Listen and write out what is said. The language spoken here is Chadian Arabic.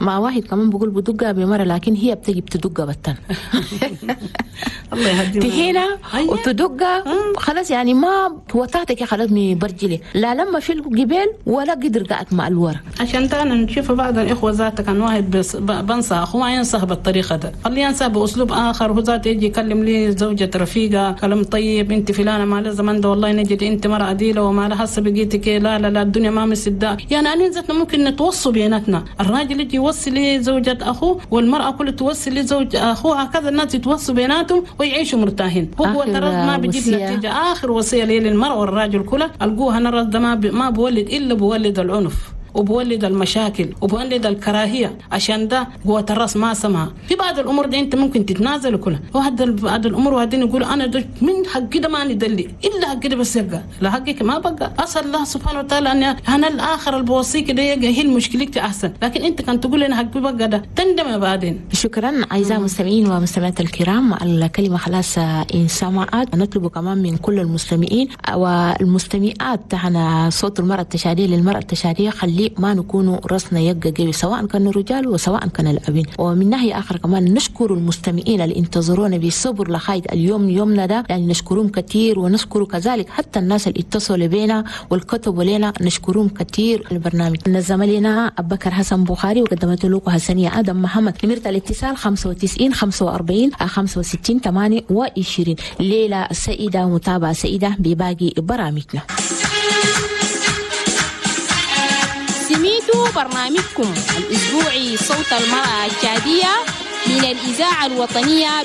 مع واحد كمان بقول بدقها بمرة، لكن هي بتجي بتدقها بتن. الله يهدينا. تهينا وتدقها خلاص، يعني ما وطاتك خلاص من برجلي، لا لما في الجبال ولا قدر قعد مع الورا. عشان تانا نشوف بعض الاخوة ذاتك كان واحد بنصح اخوه ما ينصح بالطريقة ده، خليه ينصح باسلوب اخر. هو ذاته يجي يكلم لي زوجة رفيقه كلام طيب، انت فلانه ما لازم ده والله نجد انت مرأة عديله وما لها هسه بقيتك، لا لا لا الدنيا ما مسدة. يعني انا ذاتنا ممكن نتوصوا بيناتنا، الراجل يجي يوصي لزوجة اخوه والمرأة كلها توصي لزوج اخوها، هكذا الناس يتوصوا بيناتهم ويعيشوا مرتاحين. هو ترى ما بيجيب نتيجة. اخر وصية لي للمرأة والراجل كلها القوها الراس ده ما بولد الا بولد العنف وبولد المشاكل وبولد الكراهية. عشان ده قوة الراس ما سمع. في بعض الامور دي انت ممكن تتنازل كلها، وهذا بعض الامور وهذين يقول انا ده من حقي ده ما ندلي الا حقي ده بس يبقى لا حقك ما بقى. اسال الله سبحانه وتعالى ان انا الاخر اللي بوصيك ده هي المشكلة احسن، لكن انت كان تقول انا حقي بقى ده تندم بعدين. شكرا اعزائي المستمعين والمستمعات الكرام، الكلمة خلاص ان سمعت. نطلب كمان من كل المستمعين والمستمعات تاعنا صوت المراة التشاديه للمراة التشاديه، خلي ما نكون راسنا يبقى قوي سواء كان الرجال وسواء كان الأبين. ومن ناحية آخر كمان نشكر المستمعين اللي انتظرونا بالصبر لغاية اليوم يومنا ده، يعني نشكرهم كثير، ونشكر كذلك حتى الناس اللي اتصلوا بينا والكتبوا لنا، نشكرهم كثير. البرنامج نظم لنا أبو بكر حسن بخاري وقدمت لكم حسنية آدم محمد. نمرة الاتصال 95 45 65 28. ليلة سعيدة ومتابعة سعيدة بباقي برامجنا. سميتوا برنامجكم الأسبوعي صوت المرأة التشادية من الإذاعة الوطنية.